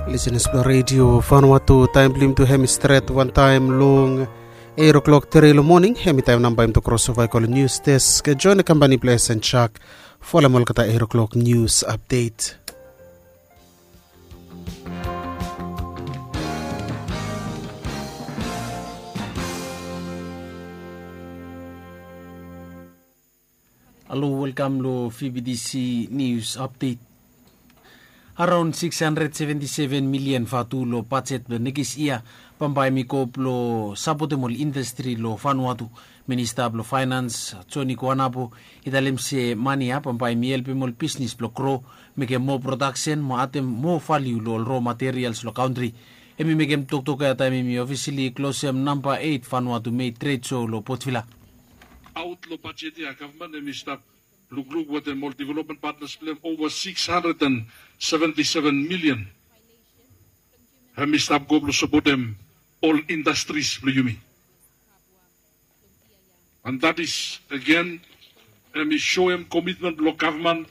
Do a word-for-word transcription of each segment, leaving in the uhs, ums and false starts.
Lisenas blong redio Vanuatu, taem blong yumi tu hem i stret wantaem long eit o'klok tre long moning. Hem i taem nao bae yumi tu krosova i go long nius desk. Joen na kampani blong S N Chak folem olgeta eit o'klok nius apdet. Halo, welkam long V B T C News Update. Araon sikis handred seventi seven milian vatu long bajet blong nekis yia bambae hem i go blong sapotem ol indastri long Vanuatu. Minista blong Faenans Joni Kuanapo i talem se mane ya bambae hem i helpem ol bisnis blong gro, mekem moa prodaksen mo adem moa valiu long ol ro materials long kantri. Hem i mekem toktok ya taem hem i ofisali klosem namba eit Vanuatu Mei Tred Show long Port Vila. Aot long bajet ya gavman hem i stap lukluk wetem ol development patnas blong hem ova sikis handred and seventi seven milian. Hem i stap go blong sapotem ol indastris blong yumi. And that is again, hem i soem komitmen blong gavman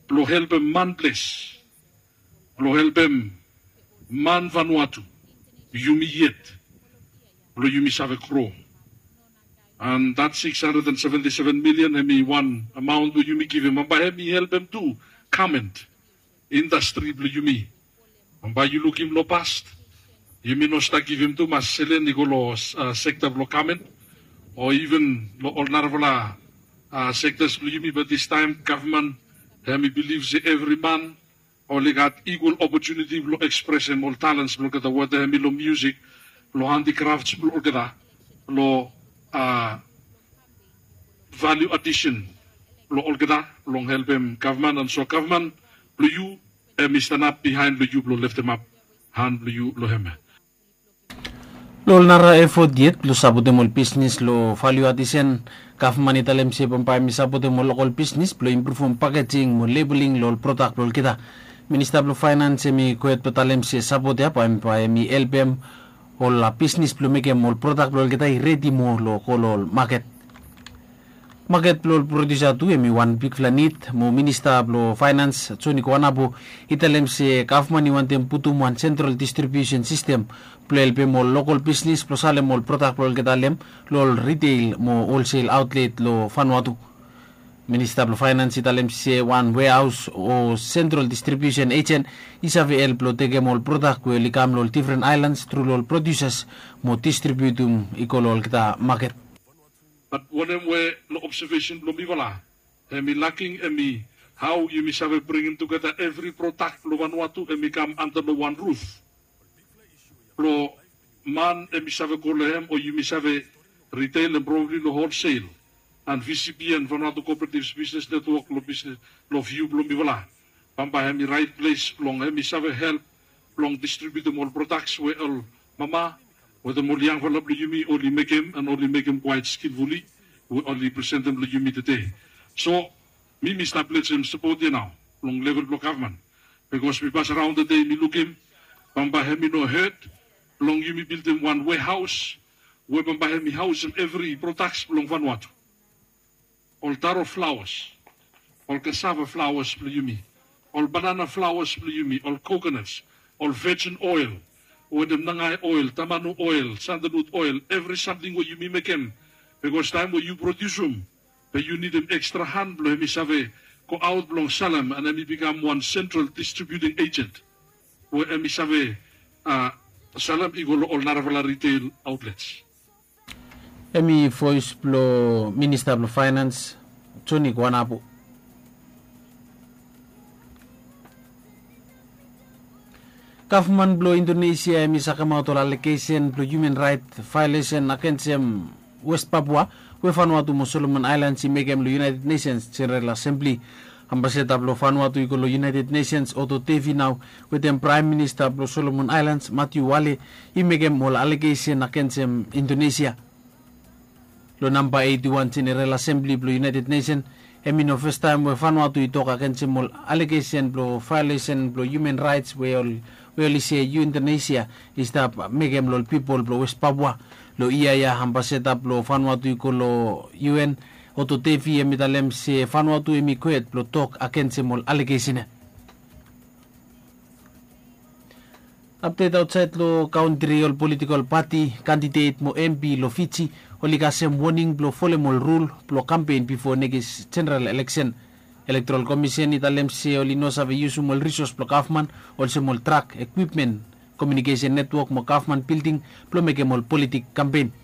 blong helpem man ples, blong helpem man Vanuatu, yumi yet, blong yumi save gro. And that sikis handred and seventi seven milian hem i wan amaon blong yumi givim, bambae hem i helpem tu gament indastri blong yumi. Bambae yu lukim long past, yumi no stap givim tumas selen i go long sekta blong gament o iven long ol narafala sektas blong yumi, bat distaem gavman hem i bilif se evri man oli gat ikwal opotuniti blong ekspresem ol talens blong olgeta, weta hem i long miusik, long handikrafts blong olgeta, long valiu adisen blong olgeta, long helpem gavman. And so gavman blong yu hem i stanap bihaen blong yu blong leftemap han blong yu long hem. Long ol nara efot yet blong sapotem ol bisnis long valiu adisen, gavman i talem se bambae hem i sapotem ol lokol bisnis blong impruvum pakejing mo lebeling long ol prodak blong olgeta. Minista blong Faenans hem i gohed blong talem se sapot ya bambae hem i helpem ol bisnis blong mekem ol prodak blong olgeta i redi moa long go long ol maket. Maket blong ol prodiusa tu hem i wan bigfala nid mo Minista blong Faenans Joni Kuanapo i talem se gavman i wantem putum wan sentral distribiusen sistem blong helpem ol lokol bisnis blong salem ol prodak blong olgeta long ol riteil mo holsel aotlet long Vanuatu. Minista blong Faenans i talem se wan wehaos o sentral distribiusen ejen i save help blong tekem ol prodak we oli kam long ol difren aelans tru long ol prodiusas mo distribiutum i go long olgeta maket. Bat wanem we long obsevesen blong mifala hem i laking hem i hao yumi save bringim tugeta evri prodak blong Vanuatu hem i kam anta long wan ruf blong man hem i save go long hem o yumi save riteil hem probabli long holsel. And V C B N, Vanuatu Cooperative Business Network, long bisnis long viu blong mifala, bambae hem i raet ples blong hem i save help blong distribiutum ol prodaks we ol mama wetem ol yangfala blong yumi oli mekem and oli mekem kwaet skilfuli we oli presentem long yumi tede. So mi mi stap lejem sapot ya nao long level blong gavman, bikos mi pasaraon tede mi lukim bambae hem i no hed blong yumi bildim wan wehaos we bambae hem i haosem evri prodaks blong Vanuatu. Ol taro flaoas, ol kasava flaoas blong yumi, ol banana flaoas blong yumi, ol kokonas, ol vejin oel wetem nangae oel, tamanu oel, sandalwud oel, evri samting we yumi mekem. Bikos taem we yu prodiusum be yu nidim ekstra han blong hem i save goaot blong salem and hem i bikam wan sentral distribiuting ejen we hem i save salem i go long ol narafala riteil aotlets. Hem i voes blong Minista blong Faenans Joni Kuanapo. Gavman blong Indonesia hem i sakemaot ol alegesen blong hiuman raet vaelesen agensem West Papua we Vanuatu mo Solomon Aelans i mekem long United Nations Jeneral Asembli. Ambasada blong Vanuatu i go long United Nations Otto Devi nao wetem Praem Minista blong Solomon Aelans Matthew Wale i mekem ol alegesen agensem Indonesia. Long namba eiti wan Jeneral Asembli blong United Nesen, hem i no fastaem we Vanuatu i tok agensem ol alegesen blong vaelesen blong hiuman raets we oli se Indonesia i stap mekem long ol pipol blong West Papua. Long yia ya ambasada blong Vanuatu i go long U N, Otto Devi, hem i talem se Vanuatu hem i gwe hed blong tok agensem ol alegesen ya. Apdet aotsaed long kantri, ol politikol pati, kandidet mo empi long Fiji oli kasem woning blong folem ol rul blong kampen bifo nekis jeneral eleksen. Elektorol Komisen i talem se oli no save yusum ol risos blong gavman, olsem ol trak, ekwipmen, komiunikesen netwok mo gavman bilding blong mekem ol politik kampen.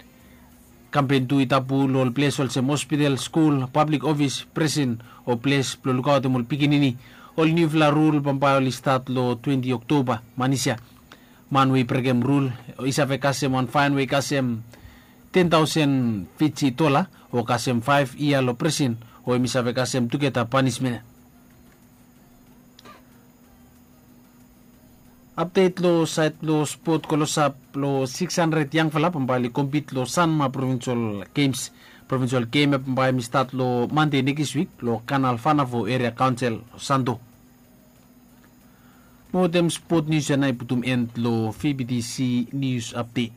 Kampen tu i tabu long ol ples olsem hospital, skul, pablik ofis, presen o ples blong lukaotem ol pikinini. Ol niufala rul bambae oli stat long twenti Oktoba, Manisia. Man we i brekem rul i save kasem wan faen we i kasem ten taosen Fiji dola, o kasem faef yia long presen, o hem i save kasem tugeta panismen. Apdet long saed blong spot, klosap long siks handred yangfala bambae oli kompit long Sanma Provinsol Gems. Provinsol Gem ya bambae hem i stat long Mande nekis wik long Kanal Fanafo Eria Kaonsel, Santo. Mo wetem spot nius ya nao i putum en long VBTC Nius Apdet.